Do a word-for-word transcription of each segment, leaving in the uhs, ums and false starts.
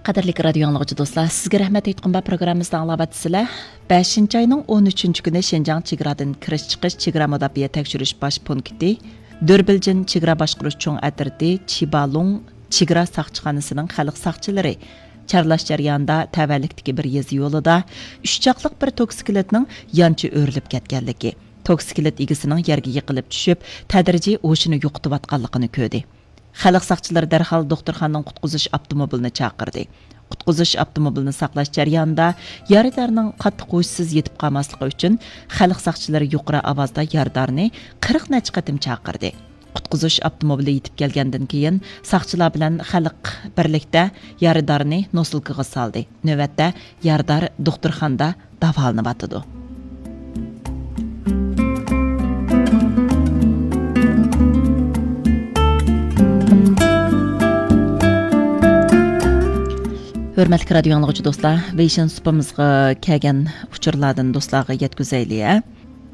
قەدىرلىك رادىيو ئاڭلىغۇچى دوستلار، سىزگە رەھمەت ئېيتقۇم بار پروگراممىمىزنى ئاڭلاۋاتىسىلەر. بەشىنچى ئاينىڭ ئون ئۈچىنچى كۈنى شىنجاڭ چېگرادىن كىرىش چىقىش چېگرا مۇداپىئە تەكشۈرۈش باش پونكىتى دۆربىلجىن چېگرا باشقۇرۇش چوڭ ئەترىتى چىبالۇڭ چېگرا ساقچىخانىسىنىڭ خەلق ساقچىلىرى چارلاش جەريانىدا تەۋەلىكتىكى بىر يېزا يولىدا ئۈچ چاقلىق بىر توكسىكلىتنىڭ يانچە ئۆرۈلۈپ كەتكەنلىكى، توكسىكلىت ئىگىسىنىڭ يەرگە يىقىلىپ چۈشۈپ، تەدرىجىي ھوشىنى يوقىتىۋاتقانلىقىنى كۆردى. خەلق ساقچىلىرى دەرھال دوختۇرخانىنىڭ قۇتقۇزۇش ئاپتوموبىلىنى چاقىردى. قۇتقۇزۇش ئاپتوموبىلىنى ساقلاش جەريانىدا يارىدارنىڭ قاتتىق ھوشسىز يېتىپ قالماسلىقى ئۈچۈن، خەلق ساقچىلىرى يۇقىرى ئاۋازدا يارىدارنى قىرىق نەچچە قېتىم چاقىردى. قۇتقۇزۇش ئاپتوموبىلى يېتىپ كەلگەندىن كېيىن، ساقچىلار بىلەن خەلق بىرلىكتە يارىدارنى نوسۇلكىغا سالدى. نۆۋەتتە يارىدار دوختۇرخانىدا داۋالىنىۋاتىدۇ. ھۆرمەتلىك رادىيو ئاڭلىغۇچى دوستلار، ۋېيشىن سۇپىمىزغا كەلگەن ئۇچۇرلاردىن دوستلارغا يەتكۈزەيلى، ھە؟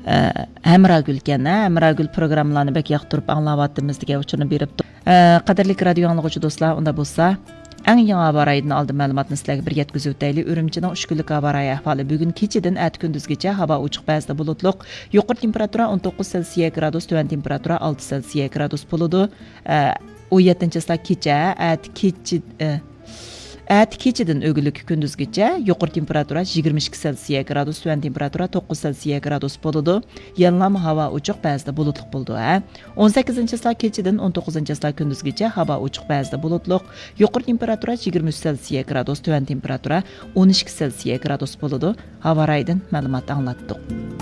ئە، ھەمراگۈل ئىكەن، ھە؟ ھەمراگۈل پروگراممىلارنى بەك ياقتۇرۇپ ئاڭلاۋاتىمىز دېگەن ئۇچۇرنى بېرىپتۇ. ئە، قەدىرلىك رادىيو ئاڭلىغۇچى دوستلار، ئۇندا بولسا، ئەڭ يېڭى ھاۋا رايىدىن ئالدىن مەلۇماتنى سىلەرگە بىر يەتكۈزۈۋېتەيلى. ئۈرۈمچىنىڭ ئۈچ كۈنلۈك ھاۋا رايى ئەھۋالى. بۈگۈن كېچىدىن ئەتە كۈندۈزگىچە ھاۋا ئوچۇق، بەزىدە بۇلۇتلۇق. يۇقىرى تېمپېراتۇرا ئون توققۇز سېلسىيە گرادۇس، تۆۋەن تېمپېراتۇرا ئالتە سېلسىيە گرادۇس بولىدۇ. ئە، ئون يەتتىنچى چىسلا كېچە، ئەتە كېچە، ئە، ئەتە كېچىدىن ئۆگۈنلۈككە كۈندۈزگىچە يۇقىرى تېمپېراتۇرا يىگىرمە ئىككى سېلسىيە گرادۇس، تۆۋەن تېمپېراتۇرا توققۇز سېلسىيە گرادۇس بولىدۇ. يەنىلا ھاۋا ئوچۇق، بەزىدە بۇلۇتلۇق بولىدۇ، ھە. ئون سەككىزىنچى چىسلا كېچىدىن ئون توققۇزىنچى چىسلا كۈندۈزگىچە ھاۋا ئوچۇق، بەزىدە بۇلۇتلۇق. يۇقىرى تېمپېراتۇرا يىگىرمە ئۈچ سېلسىيە گرادۇس، تۆۋەن تېمپېراتۇرا ئون ئىككى سېلسىيە گرادۇس بولىدۇ. ھاۋا رايىدىن مەلۇمات ئاڭلاتتۇق.